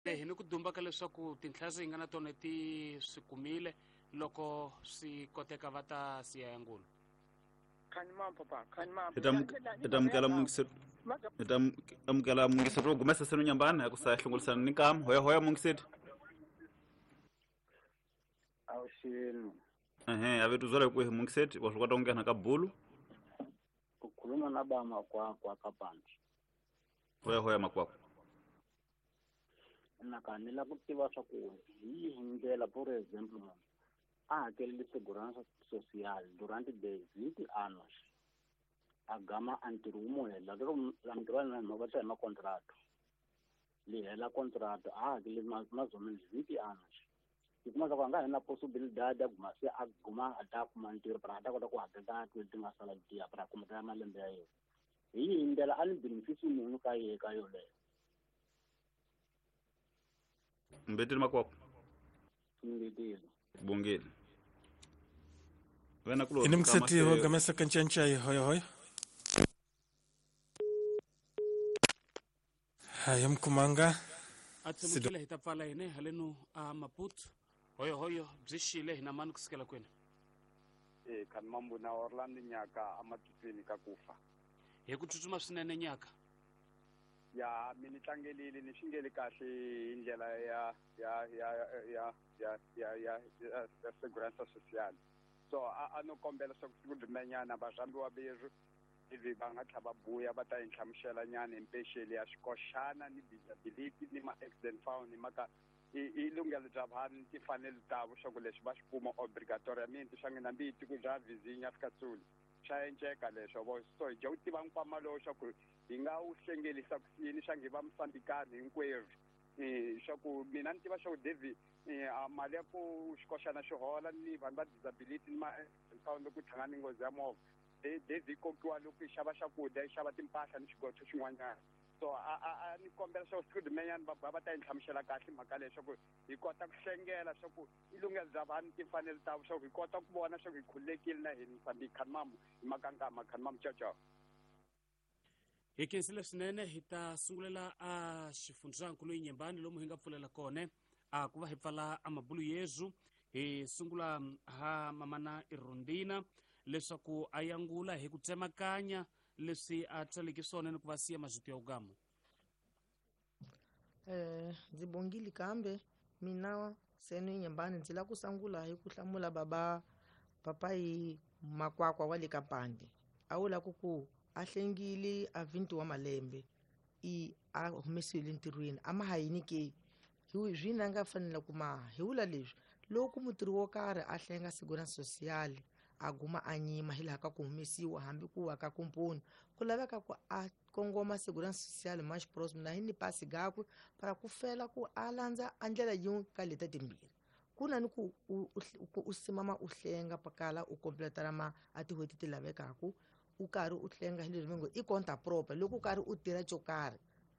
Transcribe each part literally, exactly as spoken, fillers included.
Hi ni ku dumba ka leswaku tinhla hi nga na tona ti swi kumile loko swi koteka va ta siya ya ngulu. Hi ta amukela hi ta amukela mungiseti wo gumesa seno nyambana ya ku sa hlongolisana ni nkama. Hoya hoya mungiseti. Awuxini. Ehe, a vetu zwala ku hi mungiseti wa swi kota ku nghena ka bulu. Ku khuluma na ba makwakwa ka pandi. Hoya hoya makwakwa. Na ka ni la ku tiva swa ku hi yihi ndlela, for example, munhu a hakelele segurança social durante vinte anos, a gama a ntirho wu mu hela, loko ntirho wa hina va hi makontrato, li hela contrato a hakele mais ou menos vinte anos, i kuma swa ku a nga ha na possibilidade ya guma se a guma a ta kuma ntirho para a ta kota ku hakela leti nga sala letiya para kuma ta malembe ya yena. Hi yihi ndlela a ni benefit munhu ka yehe ka yoleyo? Mbetile makwakwa. Mbetile. Bongile. Wena kulo. Ini mkseti wa gamesa kanchanchai hoya hoya. Haya mkumanga. Atsemukile hi ta pfala hine haleno a Maputo. Hoyo hoyo byi xile hina mani kusukela kwini? Eh kan mambo na Orlando nyaka amatutweni ka kufa. Hi ku tsutsuma swinene nyaka. Ya mi ni tlangelile ni xingeli kahle hi ndlela ya ya ya ya ya ya ya ya segurança social. So a a no kombela swa ku siku rin'wanyana va rhambiwa berhu ivi va nga tlha va buya va ta hi nhlamusela nyana hi mpexeli ya xikoxana ni disability ni ma-accident fund ni maka i i lunghelo bya vanhu timfanelo tavo swa ku leswi va swi kuma obligatoriamente swa n'wina mbi tiko bya vizinya fika tsuli swa enceka leswo vo. So hi dya ku tiva nkwama lowu swa ku hi nga wu hlengelisa ku yini swa ngi va Mosambikani hinkwerhu. Swa ku mina ni tiva swa ku David mali ya ku xikoxana xi hola ni vanhu va disability ni ma-fund loko ku hlangana ni nghozi ya movha David kokiwa loko yi xava swakudya yi xava timpahla ni xigotho xin'wanyana. So a a a ni kombela swa ku siku rin'wanyana va va ta hi nhlamusela kahle mhaka leyi swa ku hi kota ku hlengela swa ku i lunghelo bya vanhu timfanelo ta swa ku hi kota ku vona swa ku hi khululekile na hina Mozambique. Khanimamu hi makankama khanimamu ciao ciao. Hi khensile swinene. Hi ta sungulela a xifundzankulu Inhambane lomu hi nga pfulela kona a ku va hi pfala a mabulu yezu. Hi sungula ha mamana Irondina leswaku a yangula hi ku tsemakanya leswi a tswaleke swona ni ku va siya mazito ya ugamu. Eh ndzi bongile kambe mina seno Inhambane ndzi la ku sungula hi ku hlamula baba papai makwakwa wa le ka pandi. A wu la ku ku a hlengile a vinte wa malembe i a humesiwile ntirhweni a ma ha yini ke hi zwina nga fanela ku ma hi vula leswi loko mutirhi wo karhi a hlenga segurança social a guma a nyima hi laha ka ku humesiwa hambi ku wa ka kumponi ku laveka ku a kongoma segurança social mais próximo na hi ni pasi gakwe para ku fela ku a landza a ndlela yin'we ka leta timbirhi. Ku na ni ku u simama u hlenga pakala u completara ma a tin'hweti ti lavekaku u karhi u hlenga hi leswi va ngo i conta própria loko u karhi u tirha xo karhi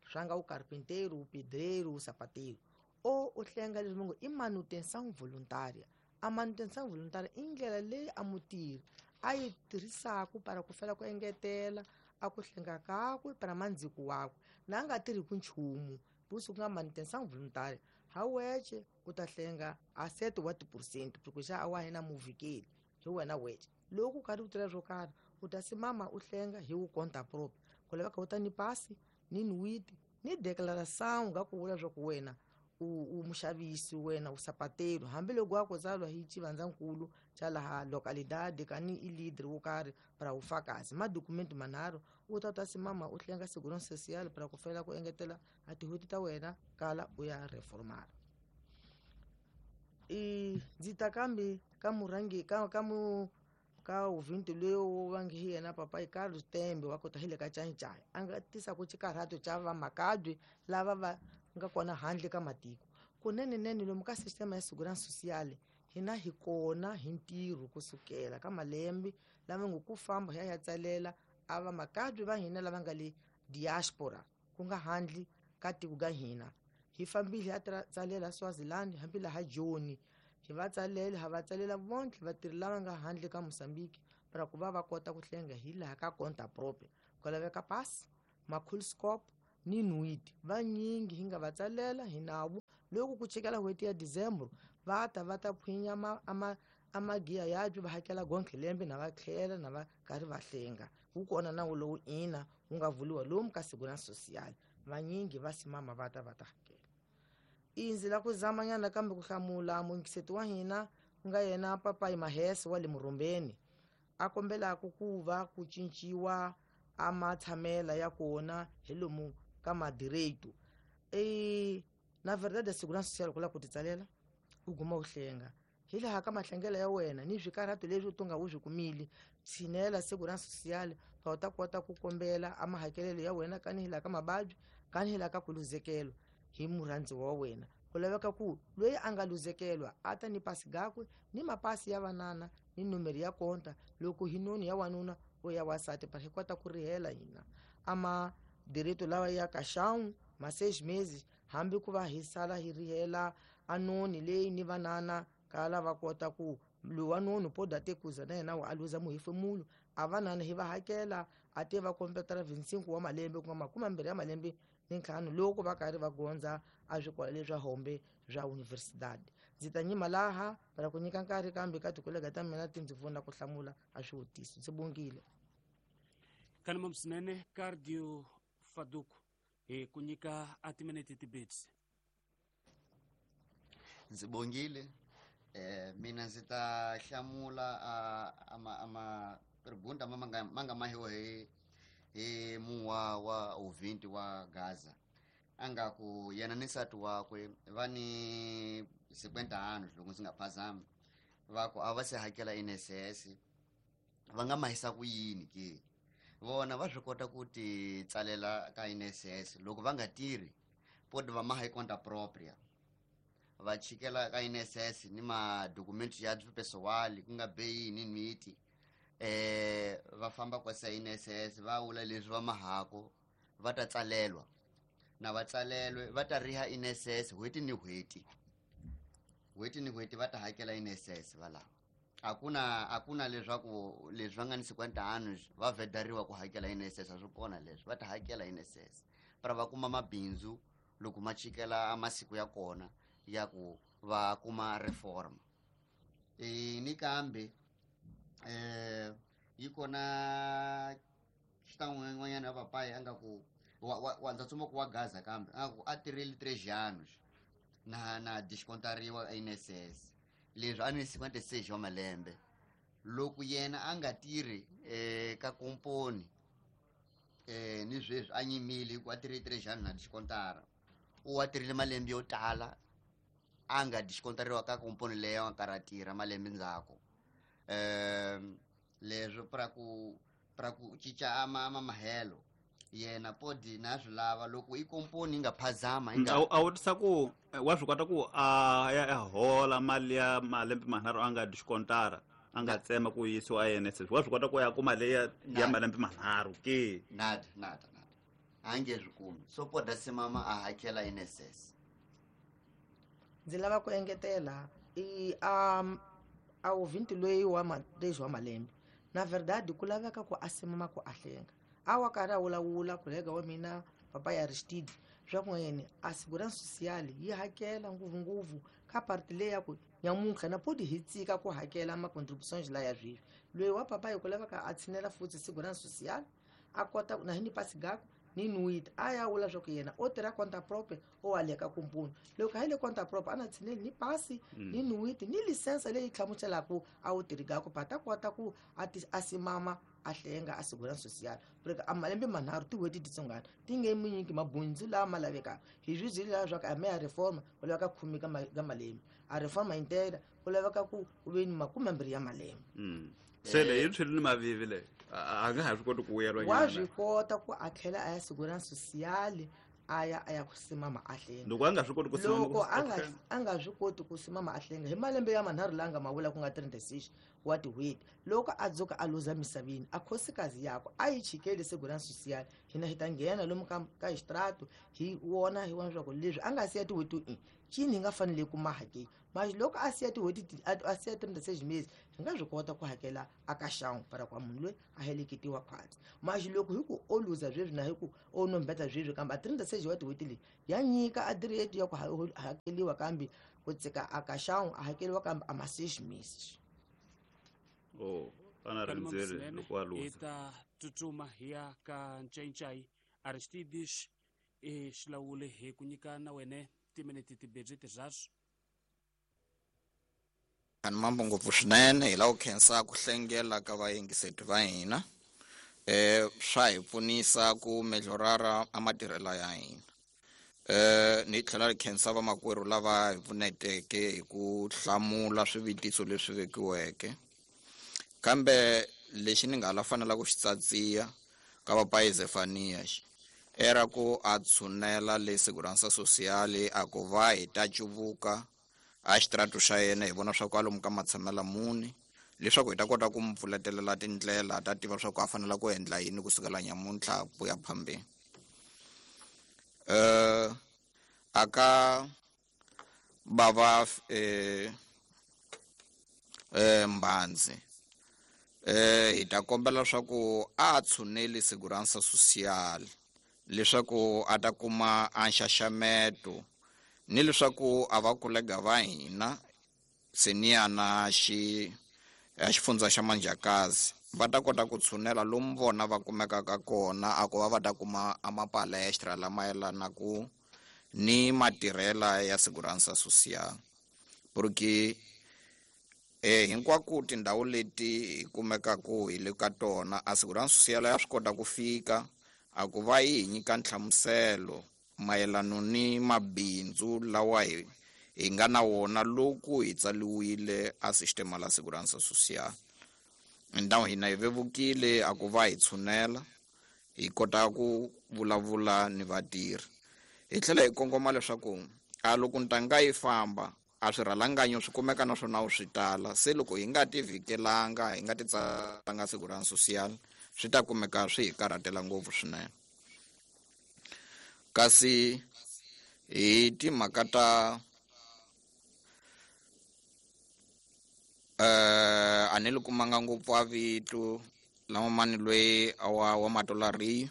swa nga u carpinteiro, u pedreiro, u sapateiro o u hlenga leswi va ngo i manutenção voluntária. A manutenção voluntária i ndlela leyi a mutirhi a yi tirhisaka para ku fela ku engetela a ku hlenga kakwe para mandziko wakwe na a nga tirhiku nchumu busi ku nga manutenção voluntária ha weche u ta hlenga a sete wa tiphesente porque xa a wa hina muvikeli hi wena weche loko u karhi u tirha swo karhi u ta simama u hlenga hi wu conta própria ku laveka u ta ni pasi ni nwiti ni declaração nga ku vula swa ku wena u muxavisi wena u sapatelo hambiloko wa ku tsalwa hi xivandzankulu xa laha localidade kani i leader wo karhi para ufakazi madokumenti manharhu u ta ta simama u hlenga segurança social para ku fela ku engetela a tin'hweti ta wena kala u ya reformara. I ndzi ta kambe ka murhangi ka ka mu ka uvinti loyi va nge hi yena papai Carlos Tembe wa kota hi le ka Cancai a nga tisaka xikarhato xa vamakabye lava va nga kona handle ka matiko kunenenene lomu ka sistema ya segurança social hina hi kona hi ntirho kusukela ka malembe lama ngo ku famba hi ya ya tsalela a vamakabye va hina lava nga le diaspora ku nga handle ka tiko ka hina hi fambile hi ya tsalela Swaziland hambi laha Joni hi va tsalela ha va tsalela vonke vatirhi lava nga handle ka Mozambique para ku va va kota ku hlenga hi laha ka conta própria ku laveka pasi makhulscope ni nuiti vanyingi hi nga va tsalela hi nawu loko ku chekela n'hweti ya December va ta va ta phwinya ama ama amagiya yabyo va hakela gonke lembe na va tlhela na va karhi va hlenga wu kona nawu lowu ina wu nga vuliwa lomu ka Segurança Social vanyingi va simama va ta va ta hakela. Indzi la ku zamanyana kambe ku hlamula muyingiseti wa hina ku nga yena Papayi Mahese wa le Murumbeni a kombelaka ku va ku cinciwa a matshamela ya kona hi lomu ka madireito. E na verdade Segurança Social ku lava ku ti tsalela u guma u hlenga hi laha ka mahlengelo ya wena ni swikarhato leswi u nga u swi kumile tshinela Segurança Social pa u ta kota ku kombela a mahakelelo ya wena kani hi laha ka mababyi kani hi laha ka ku luzekelo hi murhandziwa wa wena. Ku laveka ku loyi a nga luzekelwa a ta ni pasi gakwe ni mapasi ya vanana ni nomero ya konta loko hi noni ya wanuna o ya wasati pa hi kota ku rihela hina ama direito lawa ya kaxão ma seis meses hambi ku va hi sala hi rihela a noni leyi ni vanana kala va kota ku lowa noni poda te kuza na yena a luza muhefemulo a vanana hi va hakela a te va completara vinte e cinco wa malembe ku nga makume mambirhi ya malembe ni ntlhanu loko va karhi va gondza a swikolo leswa hombe swa universidade. Ndzi ta nyima laha para ku nyika nkarhi kambe ka tikolega ta mina ti ndzi pfuna ku hlamula a swivutiso. Ndzi bongile. Kanima swinene Cardio Faduku hi ku nyika a timinete tibetsi. Ndzi bongile. Eh mina ndzi ta hlamula a ama ama pergunta manga manga mahiwa hi hi muwa wa ouvinte wa Gaza anga ku yena ni nsati wakwe va ni cinquenta anos loko ndzi nga phazami va ku a va se hakela I N S S va nga mahisa ku yini ke vona va swi kota ku ti tsalela ka I N S S loko va nga tirhi podi va maha hi conta propria va chikela ka I N S S ni madokumenti ya pessoal ku nga beyini miti eh va famba kwasa I N S S va vula leswi va mahako va ta tsalelwa na va tsalelwe va ta riha I N S S n'hweti ni n'hweti n'hweti ni n'hweti va ta hakela I N S S va lava akuna akuna leswaku leswi va nga ni cinquenta anos va vedariwa ku hakela I N S S a swi kona leswi va ta hakela I N S S para va kuma mabindzu loko ma chikela masiku ya kona ya ku va kuma reform e ni kambe eh yi kona xitan'wanyana ya papayi a nga ku wa wa ndza tsuma ku wa Gaza kambe a ku a tirhile três anos na na descontariwa I N S S leswi a ni cinquenta e seis wa malembe loko yena a nga tirhi eh ka komponi eh ni sweswi a nyimile ku a tirhile três anos na descontara u wa tirhile malembe yo tala a nga descontariwa ka komponi leyo a karhi a tirha malembe ndzhaku um leswi pra ku pra ku cinca ama ama mahelo yena podi na swi lava loko i komponi yi nga phazama a a vutisa ku wa swi kota ku a ya hola mali ya malembe manharhu a nga discontara a nga tsema ku yisiwa I N S S wa swi kota ku ya kuma leyi ya malembe manharhu ke nada nada nada a nge swi kumi so poda simama a hakela I N S S. Ndzi lava ku engetela i um a ouvinte loyi wa ma três wa malembe na verdade ku laveka ku a simama ku a hlenga a wa karhi a vulavula kolega wa mina papa ya Aristide swa ku yena a Segurança Social yi hakela ngopfungopfu ka parti leyi ya ku nyamuntlha na podi hi tsika ku hakela ma-contributions laya sweswi loyi wa papa hi ku laveka a tshinela futhi Segurança Social a kota na hi ni pasi gaku ni nuit a ya vula swa ku yena o tirha conta propria o wa le ka komponi loko a yi le conta propria a na tshineli ni pasi ni nuit ni lisensa leyi hlamuselaka a wu tirhi gaku pa ta kota ku a ti a simama a hlenga a Segurança Social porque a malembe manharhu tin'hweti titsongana ti nge mi nyiki mabundzu lama lavekaka hi swi byeli laha swa ku a me a reforma ku laveka khume ka ka malembe a reforma inteira ku laveka ku ku ve ni makume mbirhi ya malembe. Se leyi yi tshwile ni mavivi leyi a nga ha swi koti ku vuyeriwa wa swi kota ku a tlhela a ya Segurança Social a ya a ya ku simama a hlenga loko a nga swi koti ku simama loko a nga a nga swi koti ku simama a hlenga hi malembe ya manharhu la nga ma vula ku nga trinta e seis wa tin'hweti loko a dzuka a luza misaveni a khosikazi yakwe a yi chikeli Segurança Social hina hi ta nghena lomu ka ka extrato hi wona hi vona leswaku leswi a nga siya tin'hweti i cini hi nga fanele ku maha ke Mas loko a siya tin'hweti a siya trinta e seis meses hi nga swi kota ku hakela a ka xan'we para kwa munhu loyi a heleketiwa khwatsi. Mas loko hi ku o luza sweswi na hi ku o nombeta sweswi kambe a trinta e seis wa tin'hweti leyi ya nyika a direito ya ku hakeliwa kambe ku tsika a ka xan'we a hakeliwa kambe a ma seis meses. Oh, ana rindzele loko a luza. Hi ta tsutsuma hi ya ka Ncayincayi Aristides e xilawule hi ku nyika na wene timinete timbirhi tirharhu. Ani mambo ngopfu swinene hi lava ku khensa ku hlengela ka vayingiseti va hina eh swa hi pfunisa ku melhorara a matirhelo ya hina. Eh ni tlhela ri khensa vamakwerhu lava hi pfuneteke hi ku hlamula swivutiso leswi vekiweke. Kambe lexi ni nga la fanela ku xi tsatsiya ka papai Zefania era ku a tshunela le Segurança Social a ku va hi ta cuvuka a xitratu xa yena hi vona swa ku alomu ka matshamela muni leswaku hi ta kota ku mu pfuletelela tindlela ta tiva swa ku a fanela ku endla yini kusukela nyamuntlha ku ya phambeni. Eh aka bava eh eh Mbanzi eh hi ta kombela swa ku a tshuneli Segurança Social leswaku a ta kuma a nxaxameto ni leswaku a va kolega va hina senior na xi a xifundza xa Manjakazi va ta kota ku tshunela lomu vona va kumekaka kona a ku va va ta kuma a mapalestra lama yelanaku ni matirhela ya Segurança Social. Porque eh hinkwako tindhawu leti hi kumekaku hi le ka tona a Segurança Social ya swi kota ku fika a ku va yi hi nyika nhlamuselo mayelano ni mabindzu lawa hi hi nga na wona loko hi tsaliwile a sistema la Segurança Social. Ndhawu hina hi vevukile a ku va hi tshunela hi kota ku vulavula ni vatirhi. Hi tlhela hi kongoma leswaku a loko ntanga yi famba a swirhalanganyo swi kumeka naswona swi tala se loko hi nga ti vhikelanga hi nga ti tsalanga Segurança Social swi ta kumeka swi hi karhatela ngopfu swinene. Kasi hi timhaka ta eh a ni li kumanga ngopfu a vito lama mani loyi wa wa matolari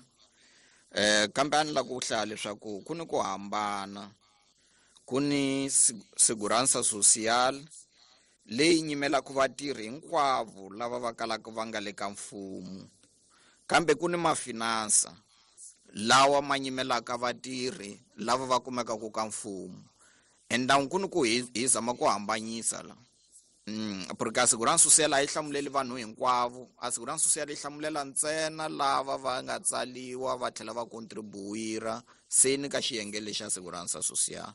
eh kambe a ni la ku hlaya leswaku ku ni ku hambana ku ni Segurança Social leyi nyimelaka vatirhi hinkwavo lava va kalaka va nga le ka mfumo kambe ku ni mafinansa lawa ma nyimelaka vatirhi lava va kumekaka ka mfumo. Endhawu ku ni ku hi hi zama ku hambanyisa la mm porque a Segurança Social a yi hlamuleli vanhu hinkwavo. A Segurança Social yi hlamulela ntsena lava va nga tsaliwa va tlhela va contribuira seni ka xiyenge lexa Segurança Social.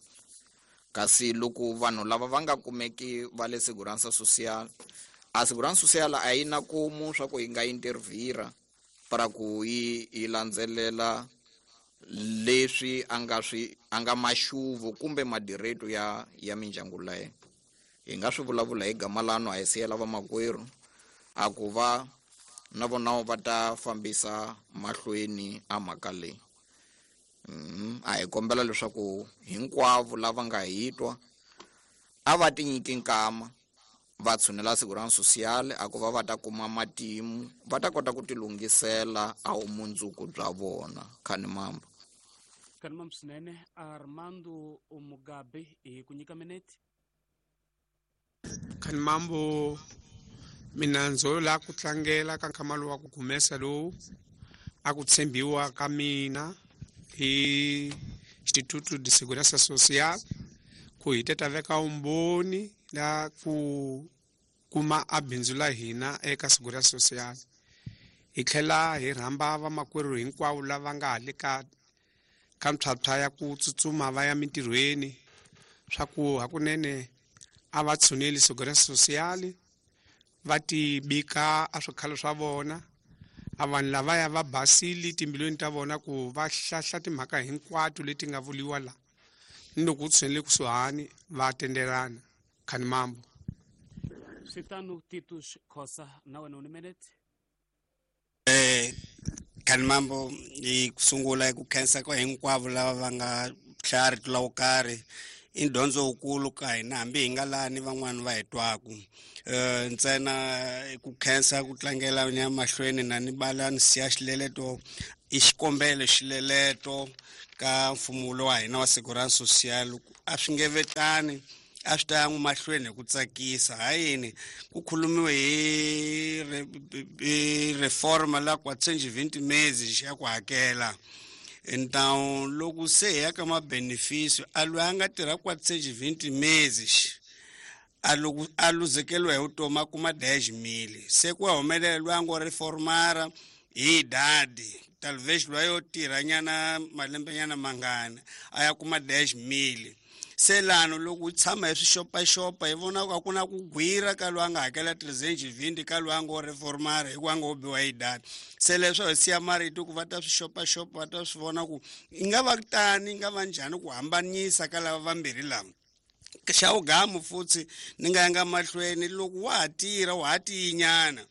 Kasi loko vanhu lava va nga kumeki va le Segurança Social a Segurança Social a yi na kumu swa ku yi nga intervira para ku yi yi landzelela leswi a nga swi a nga maxuvu kumbe madireto ya ya mindyangu leyo. Hi nga swi vulavula hi gama lano a hi siyela vamakwerhu a ku va na vona va ta fambisa mahlweni a mhaka leyi. Mm, a hi kombela leswaku hinkwavo lava nga hi twa a va tinyiki nkama va tshunela Segurança Social a ku va va ta kuma matimu va ta kota ku tilunghisela a vumundzuku bya vona. Khani mambo. Khani mambo swinene Armando Mugabe hi ku nyika minete. Khani mambo mina ndzo la ku tlangela ka nkama lowu wa ku humesa lowu a ku tshembiwa ka mina hi Instituto de Segurança Social ku hi teta veka umboni la ku kuma a bindzu la hina eka Segurança Social. Hi tlhela hi rhamba vamakwerhu hinkwavo lava nga le ka ka mphyaphyya ya ku tsutsuma va ya mintirhweni swa ku hakunene a va tshuneli Segurança Social va ti bika a swikhalo swa vona a vanhu lavaya va basile timbilweni ta vona ku va hlahla timhaka hinkwato leti nga vuliwa la ni loko u tshunele kusuhani va tendelana. Khani mambo. Switano Titus Khosa na wena u ni minute. Eh Khani mambo hi ku sungula hi ku khensa ka hinkwavo lava va nga hlaya rito la wo karhi I dyondzo wukulu ka hina hambi hi nga lani van'wani va hi twaku. um ntsena ku khensa ku tlangela ni ya mahlweni na ni bala ni siya xileleto i xikombelo xileleto ka mfumo lowa hina wa Segurança Social a swi nge vetani a swi ta ya mahlweni hi ku tsakisa ha yini ku khulumiwe hi hi reforma la quatrocentos e vinte meses ya ku hakela. Então loko se hi ya ka ma-benefício a loyi a nga tirha quatrocentos e vinte meses a loko a luzekeriwa hi vutomi a kuma dez mil se ku humelela loyi a ngo reformara hi idade talvez loyi yo tirha nyana malembe nyana mangani a ya kuma dez mil. Se lano loko u tshama hi swixopaxopa hi vona ku a ku na ku gwira ka loyi a nga hakela trezentos e vinte ka loyi a ngo reformara hikuva a ngo biwa hi idade. Se leswo hi siya marito ku va ta swixopaxopa va ta swi vona ku yi nga va tani yi nga va njhani ku hambanyisa ka lava vambirhi lava. Xa vugamu futhi ni nga yanga mahlweni loko wa ha tirha wa ha tiyinyana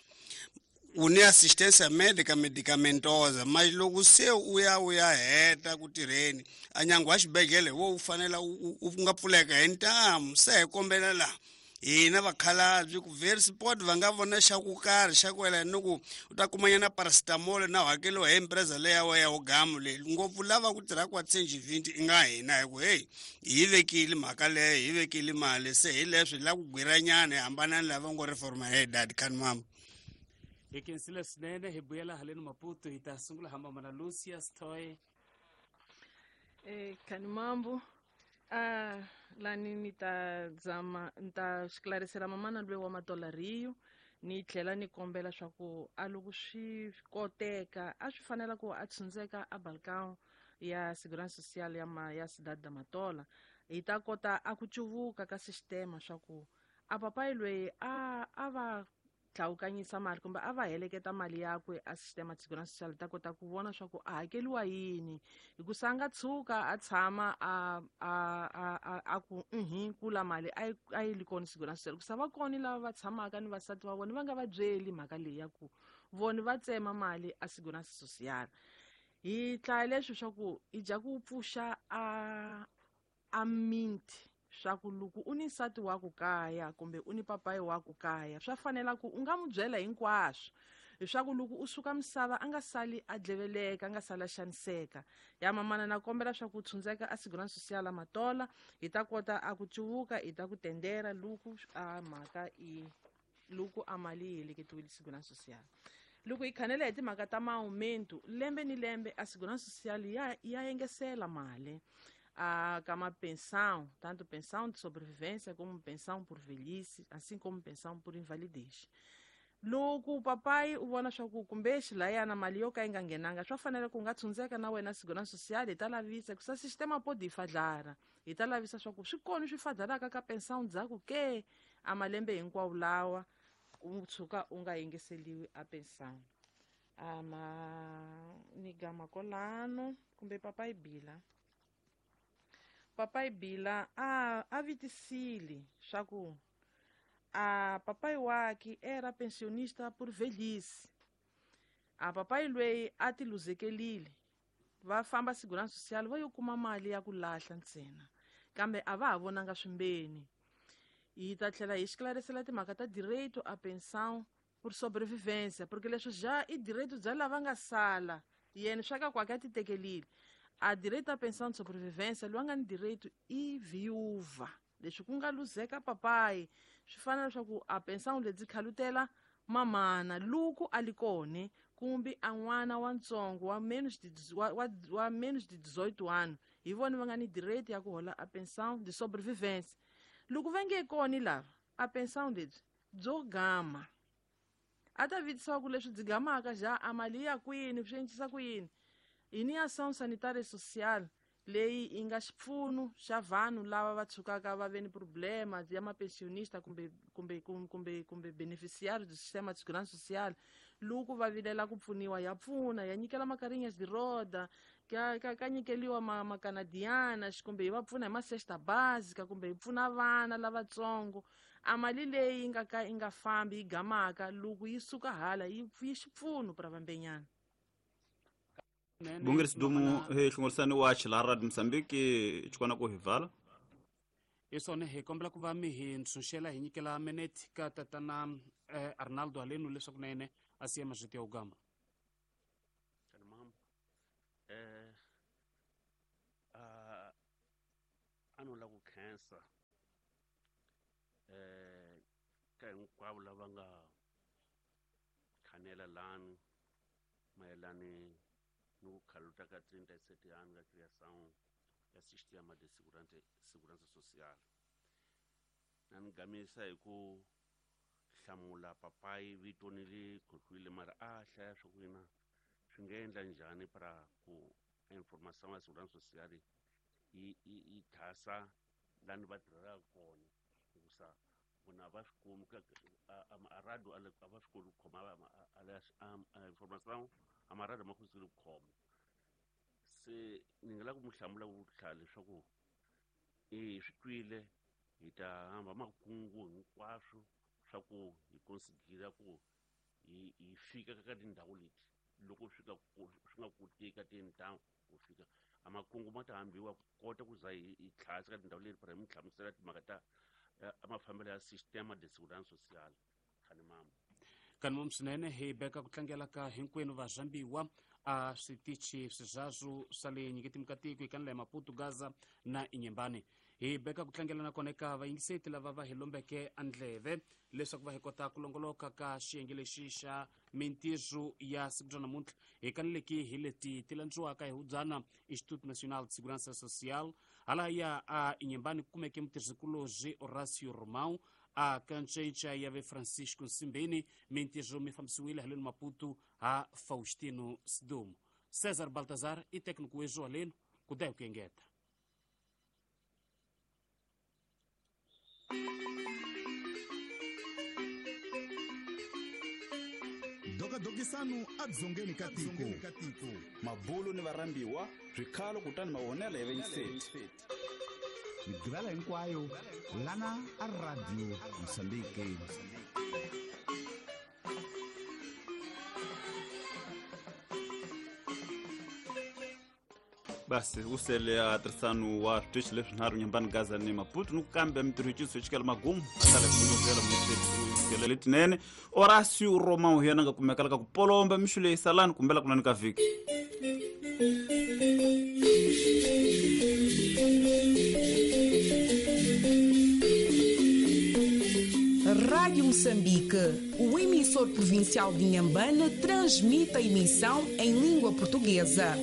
u ni assistência médica medicamentosa mas loko se u ya u ya heta ku tirheni a nyango wa xibedhlele wo wu fanela u nga pfuleka hi ntamu. Se hi kombela laha hina vakhalabye ku very sport va nga vona xa ku karhi xa ku wela ni ku u ta kumanyana paracetamol na hakeliwa hi empresa leya wa ya ugamu leyi ngopfu lava ku tirha quatrocentos e vinte i nga hina hi ku hey hi vekile mhaka leyo hi vekile mali se hi leswi hi lava ku gwiranyana hi hambana ni lava ngo reforma hi dad khani mama. Hi khensile swinene hi vuyela haleni Maputo hi ta sungula hamba mana Lucia Stoy. Eh khani mambo ah lani ni ta zama ni ta esclarecer mamana loyi wa Matola Rio ni tlhela ni kombela swa ku a loko swi koteka a swi fanela ku a tshundzeka a balcão ya Segurança Social ya ma ya Cidade da Matola hi ta kota a ku cuvuka ka sistema swa ku a papai loyi a a va tlhawukanyisa mali kumbe a va heleketa mali yakwe a sistema de segurança social ta kota ku vona swa ku a hakeliwa yini hikusa a nga tshuka a tshama a a a a ku uhi kula mali a yi a yi li kona segurança social hikusa va kona lava va tshamaka ni vasati va vona va nga va byeli mhaka leyi ya ku vona va tsema mali a segurança social. Hi tlaya leswi swa ku hi dya ku pfuxa a a minti swa ku loko u ni nsati wa ku kaya kumbe u ni papayi wa ku kaya swa fanela ku u nga n'wi byela hinkwaswo leswaku loko u suka misava a nga sali a dleveleka a nga sali a xaniseka. Ya mamana na kombela swa ku tshundzeka a Segurança Social Matola hi ta kota a ku cuvuka hi ta ku tendera loko a mhaka i loko a mali yi heleketiwile Segurança Social. Loko hi khanela hi timhaka ta ma-aumento lembe ni lembe a Segurança Social ya ya engesela mali a kama pensão, tanto pensão de sobrevivência como pensão por velhice, assim como pensão por invalidez. Loko papai u vona swa ku kumbe xilayana mali yo ka yi nga nghenanga swa fanela ku nga tshundzeka na wena Segurança Social hi ta lavisa ku sa sistema pode fadlara hi ta lavisa swa ku swi kona swi fadlalaka ka pensão ndzhaku ke a malembe hinkwawo lawa u tshuka u nga yingiseliwi a pensão. Ama ni gama kolano kumbe papai Bila. Papai Bila a a vitisile swa ku a papai wake era pensionista por velhice. A papai loyi a ti luzekelile va famba Segurança Social va yo kuma mali ya ku lahla ntsena kambe a va ha vonanga swimbeni. Hi ta tlhela hi esclarecer timhaka ta direito a pensão por sobrevivência porque leswi ja i direito bya lava nga sala yena swa ka kwake a ti tekelile. A direito à pensão de sobrevivência loyi a nga ni direito i viúva leswi ku nga luzeka papai swi fana leswaku a pensão lebyi khalutela mamana loko a li kone kumbe a n'wana wantsongo wa menos de wa, wa, wa menos de dezoito anos hi vona va nga ni direito ya ku hola a pensão de sobrevivência. Loko va nge koni lava a pensão lebyi byo gama a ta vitisiwa ku leswi byi gamaka ja a mali ya kwini swi encisa ku yini. Hi ni ação sanitária e social leyi yi nga xipfuno xa vanhu lava va tshukaka va ve ni problema ya mapensionista kumbe kumbe kumbe kumbe beneficiário do sistema de segurança social loko va vilela ku pfuniwa ya pfuna ya nyikela makarinhas de roda ka ka ka nyikeliwa ma makanadiana kumbe yi va pfuna hi ma-cesta básica kumbe yi pfuna vana lavatsongo. A mali leyi yi nga ka yi nga fambi yi gamaka loko yi suka hala yi yi xipfuno pra vambenyana. Bungeri Sidumu hi hlongorisani wa Chilara Mozambique chikona ku hivala. Hi swona hi kombela ku va mi hi ntshunxela hi nyikela minete ka tatana eh, Arnaldo halenu leswaku na yena a siya mazwiti ya ugama. Eh a a no lava ku khensa eh ka hinkwavo lava nga khanela lani mayelani ni ku khaluta ka trinta e sete anos ka criação ya sistema de segurança segurança social. Na ni gamisa hi ku hlamula papayi vito ni li khohlwile mara a hlaya swa ku yina swi nga endla njhani para ku informação ya segurança social yi yi yi thasa lani va tirhelaka kona hikusa vona a va swi kumi ka a radio a va swi koti ku khoma a informação a marado ma kotile ku khoma. Se ni nga lava ku mi hlamula ku hlaya leswaku e swi twile hi ta hamba makungu hinkwaswo swa ku hi considera ku hi hi fika ka tindhawu leti loko swi ka swi nga koteki ka tindhawu ku fika a makungu ma ta hambiwa ku kota ku za hi hi tlhasa ka tindhawu leti para hi mi hlamusela timhaka ta mafambelo ya sistema de segurança social. Khanimambo Kanimambo swinene hi beka ku tlangela ka hinkwenu vazambiwa a switichi swizazwu swa le nyiketimi ka tiko hi kanela ya Maputo, Gaza na Inhambane. Hi beka ku tlangela nakona eka vayingiseti lava va hi lombeke andleve leswaku va hi kota ku longoloka ka xiyenge lexi xa mintirho ya siku ra namuntlha. Hi kaneleki hi leti ti landziwaka hi hubyana Instituto Nacional de Segurança Social halaya a Inhambane ku kumeke mutirhisikulobye Horácio Romão a kancenca ya ve Francisco Nsimbeni. Mintirho mi fambisiwile haleni Maputo ha Faustino Sidumo. César Baltazar i técnico wezu halenu ku dai ku engeta. Dokadokisanu adzongeni ka tiko mabulu ni varambiwa swikhalo kutani mavonelo ya vayingiseti migivela hinkwayo lana a Radio Mozambique. Basi usele a tirhisano wa switichi leswinharhu Inhambane, Gaza ni Maputo ni ku kambe mintirho yi cinisiwe xikela magumu a sala ku mutirhi letinene. Horácio Romão hi yena nga kumeka ka ku polomba mixo leyi salani kumbela kunani ka vhiki. Rádio Moçambique, o emissor provincial de Inhambane, transmite a emissão em língua portuguesa.